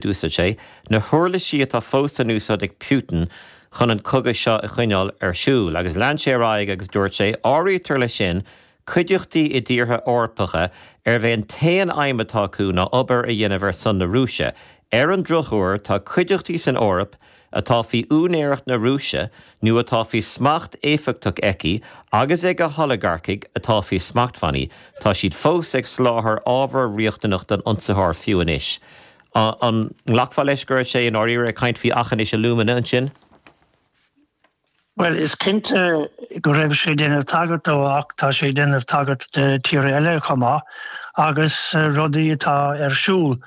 D'úsáid sé na huirlisí atá fós in úsáid ag Putin chun an cogadh seo a choinneáil ar siúl. Agus lean sé ar aghaidh agus dúirt sé, Áirítear leis sin cuideachtaí i dtíortha Eorpacha arb é an t-aon aidhm atá acu ná obair a dhéanamh ar son na Rúise. Ar an drochuair, tá cuideachtaí san Eoraip atá faoi úinéireacht na Rúise nó atá faoi smacht éifeachtach aici agus ag a holagarcaigh atá faoi smachtbhannaí, tá siad fós ag soláthar ábhar riachtanach don ionsaitheoir fiú anois. An nglacfá leis go raibh sé i ndáiríre ag caint faoi Aughinish Alumina ansin? Bhuel, is cinnte go raibh sé ag déanamh tagairt dó ach tá sé ag déanamh tagairt do tíortha eile chomh maith agus rudaí atá ar siúl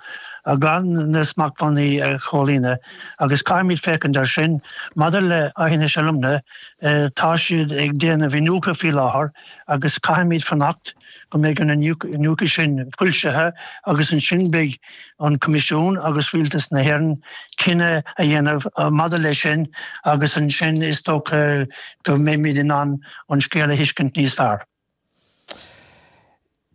gan na smachtbhannaí a chomhlíonadh agus caithfimid féachaint air sin. Maidir le Aughinish Alumina, tá siad ag déanamh iniúchadh faoi láthair agus caithfimid fanacht go mbeidh an iniúchadh sin foilsithe agus ansin beidh an Coimisiún agus Rialtas na hÉireann cinneadh a dhéanamh maidir leis sin agus ansin is dócha go mbeimid in ann an scéal a thuiscint níos fearr.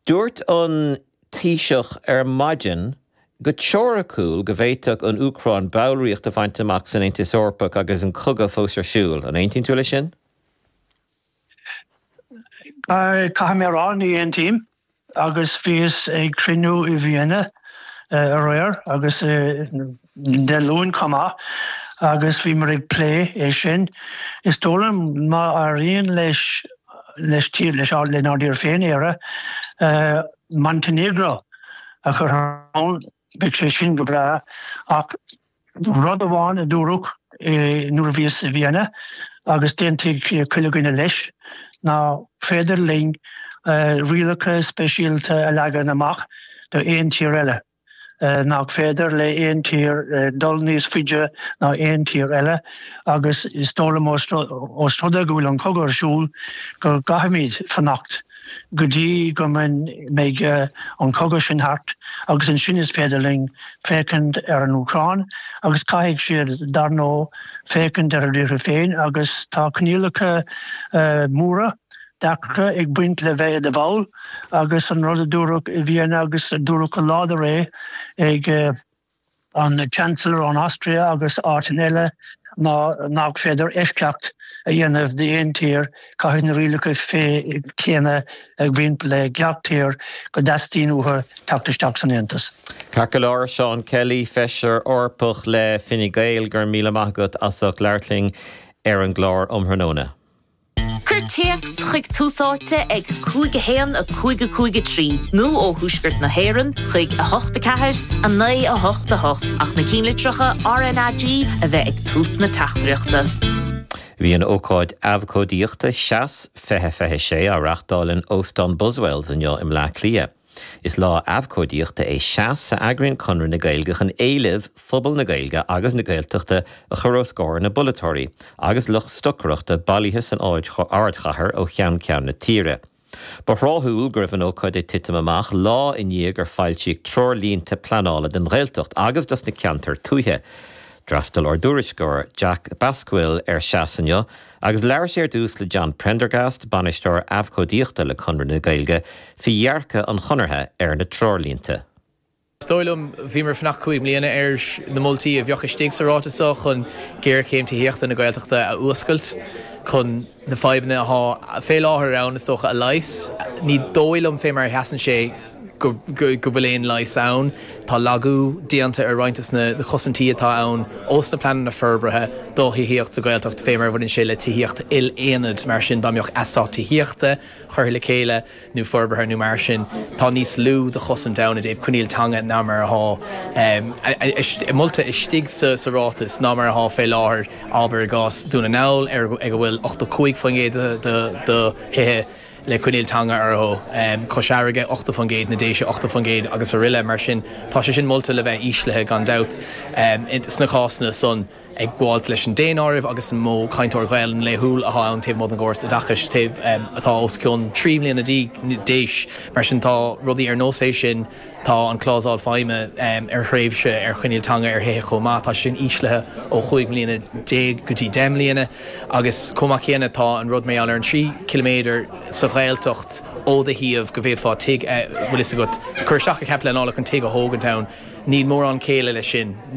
Dúirt an Taoiseach ar maidin go teoiriciúil go bhféadfadh an Úcráin ballraíocht a bhaint amach san Aontas Eorpach agus an cogadh fós ar siúl. An aontaíonn tú leis sin? Caithfidh mé a rá, ní aontaím. Agus bhíos ag cruinniú i Vienna aréir agus Dé Luain chomh maith agus bhíomar ag plé é sin. Is dóigh liom má éiríonn leis leis tír leis lenár dtír féin, Éire, Montenegro a chur ann, Beidh sé sin go breá ach rud amháin a dúradh nuair a bhíos i Vienna agus d'aontaigh chuile dhuine leis nach féidir linn rialacha speisialta a leagan amach do aon tír eile, nach féidir le aon tír dul níos faide ná aon tír eile agus is dóigh liom ós rud é go bhfuil an cogadh ar siúl go gcaithfimid fanacht. go dtí go mbeidh an cogadh sin thart agus ansin is féidir linn féachaint ar an Úcráin agus caithfidh siad, dar ndóigh, féachaint ar a dtíortha féin agus tá coinníollacha móra deacra ag baint le bheith i do bhall agus an rud a dúradh i Vienna agus a dúradh go láidir é ag an Chancellor ón Austria agus áiteanna eile ná nach féidir eisceacht a dhéanamh d'aon tír, caithfidh na rialacha céanna a bhaint le gach tír go dteastaíonn uathu teacht isteach san Aontas. Ceart go leor, Seán Kelly, Feisire Eorpach le Fine Gael, go raibh míle maith agat as ucht labhairt linn ar an gclár um thráthnóna. Cuir téacs chuig Tús Áite ag 5 1 5 5 3 nó ó Thuaisceart na hÉireann chuig 8 4 9 8 8 ach na cinnlitreacha RnaG a bheith ag tús na teachtaireachta. Bhí an ócáid abhcóidíochta Seas 2026 á reáchtáil in Óstán Buswells inniu i mBleá Cliath. Is lá abhcóidíochta é Seas a eagraíonn Conradh na Gaeilge chun éilimh phobal na Gaeilge agus na Gaeltachta a chur os comhair na bpolaiteoirí agus lucht stocaireachta bailithe san ardchathair ó cheann ceann na tíre. Ba thráthúil go raibh an ócáid ag titim amach lá i ndiaidh gur foilsíodh treoirlínte pleanála don Ghaeltacht agus dos na ceantair tuaithe. D'fhreastail ár dtuairisceoir Jack Basquill ar Seas inniu Agus labhair sé ar dtús le John Prendergast, Bainisteoir Abhcóidíochta le Conradh na Gaeilge, faoi dhearcadh an Chonartha ar na treoirlínte. Is dóigh liom, bhíomar ag fanacht 5 mbliana ar na moltaí a bheadh istigh sa ráiteas seo chun géarchéim tithíochta na Gaeltachta a fhuascailt, chun na fadhbanna atá fé láthair ann, is dócha, a leigheas. Ní dóigh liom, fé mar a sheasann sé, go bhfuil aon leigheas ann. Tá lagú déanta ar roinnt de na cosaintí atá ann ós na pleananna forbartha do thithíocht sa Ghaeltacht fé mar a bhaineann sé le tithíocht il-aonad. Mar sin, dá mbeadh eastát tithíochta curtha le chéile nó forbartha nó mar sin, tá níos lú de chosaint ann i dtaobh coinníoll teanga ná mar atá molta istigh sa ráiteas ná mar atá fé láthair, abair i gcás Dún na nGall ag a bhfuil 85% de thithe le coinníoll teanga orthu, Cois Fharraige, 80%, na Déise, 80% agus aroile. Mar sin, tá sé sin molta le bheith íslithe gan dabht sna cásanna san ag gabháilt leis an daonáireamh agus an mó cainteoir Gaelainn laethúil atá ann taobh amuigh den gcóras oideachais taobh atá os cionn 3 mbliana d'aois. Mar sin, tá rudaí ar nós é sin. Tá an clásal feidhme ar thréimhse ar choinníoll teanga ar thithe chomh maith. Tá sé sin íslithe ó 15 mbliana go dtí 10 mbliana agus chomh maith céanna tá an rud mar gheall ar an 3 chiliméadar sa Ghaeltacht ó do shuíomh go bhféadfá tigh, bhfuil fhios agat, cur isteach ar chead pleanála chun tigh a thógaint ann. Níl mórán céille leis sin.